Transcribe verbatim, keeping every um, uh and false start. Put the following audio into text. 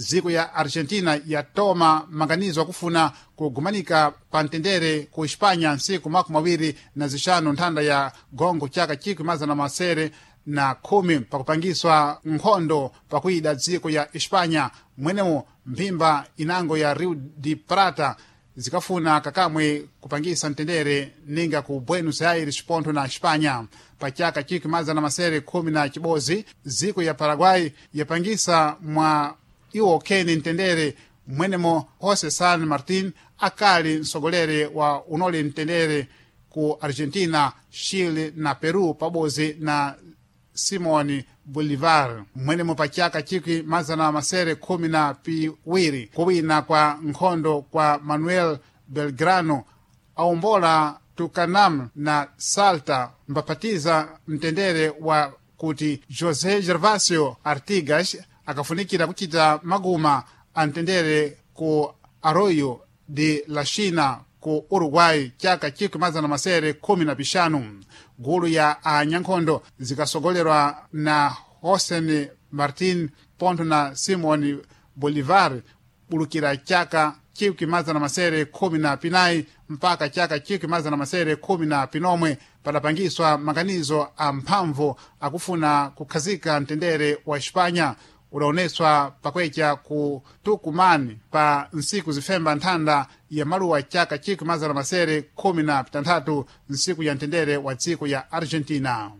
Dziko ya Argentina yatoma maganizo akufuna kugumanika pa mtendere ku Hispanya ntsiku makumi awiri na zixanu nthanda ya gongo chaka chikwi mazana masere na khumi, pakupangiswa nkhondo pakuida dziko ya Hispanya, mwenemo mphimba inango ya Rio de Prata zikafuna kakamwe kupangisa mtendere ninga ku Buenos Aires pontho na Hispanya. Pa chaka chikwi mazana masere khumi na chibodzi, dziko ya Paraguay yapangisa mwa iwo kheni mtendere, mwenemo Jose San Martin akali mtsogoleri wa unoli mtendere ku Argentina, Chile na Peru pabodzi na Simon Bolivar. Mwenemo pa chaka chikwi mazana masere khumi na piwiri, kuwina kwa nkhondo kwa Manuel Belgrano aombola Tucanam na Salta, mbapatiza mtendere wa kuti José Gervasio Artigas akafunikira kuchita maguma a mtendere ku Arroyo de la China ku Uruguay chaka chikwi mazana masere khumi na pixanu. Gulu ya anyankhondo zikasogolerwa na José Martin pontho na Simon Bolivar bulukira chaka chikwi mazana masere khumi na pinayi mpaka chaka chikwi mazana masere khumi na pinomwe, padapangiswa maganizo a mphamvu akufuna kukhazika mtendere wa Hispanya udaoneswa pakwecha ku Tucumán pa ntsiku zifemba nthanda ya maluwa chaka chikwi mazana masere khumi na pitanthatu, ntsiku ya mtendere wa dziko ya Argentina.